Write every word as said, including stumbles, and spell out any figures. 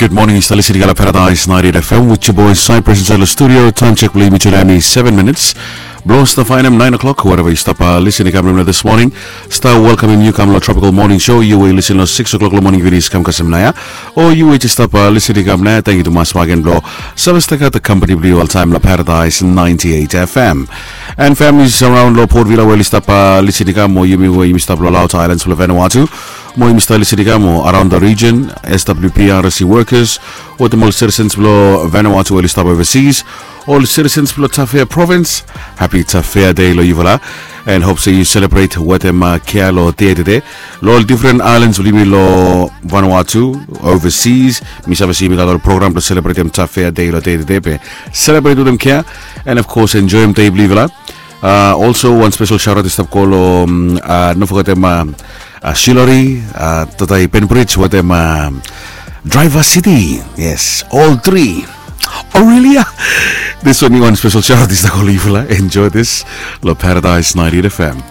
Good morning, yu stap listening long Paradise ninety-eight F M with your boy Cyprus inside the studio. Time check blong yumi tu nao hem i seven minutes blong stap faenem nine o'clock. Wherever yu stap listening long this morning, stap welcoming yu kam long Tropical Morning Show. Yu we yu listening long six o'clock long morning, video i kam kasem nao ia. O yu we yu stap listening kam nao ia, thank you tumas bak gen blong save stap gat the company blong yu oltaem long Paradise ninety-eight F M. And families around long Port Vila we yu stap listening kam, o yumi we yumi stap long Laut Islands blong Vanuatu, mo yumi stap listening kam o around the region, S W P R S C workers, wetem ol citizens blong Vanuatu we oli stap overseas, ol citizens blong Tafea Province, happy Tafea Day long yufala. And hope se yu celebrate wetem kea long dei tede. Long ol different islands blong yumi long Vanuatu, overseas, mi save se yumi gat ol program blong celebratem Tafea Day long dei tede, be celebrate wetem kea. And of course, enjoem dei blong yufala. Uh, also, wan special shout out i stap go long, uh, no fogetem, uh, uh, Shilori, uh, Tatai Penbridge wetem, uh, Driver City. Yes, all three. Aurelia. This one, wan special shout out i stap go long yufala. Enjoy this long Paradise ninety-eight F M.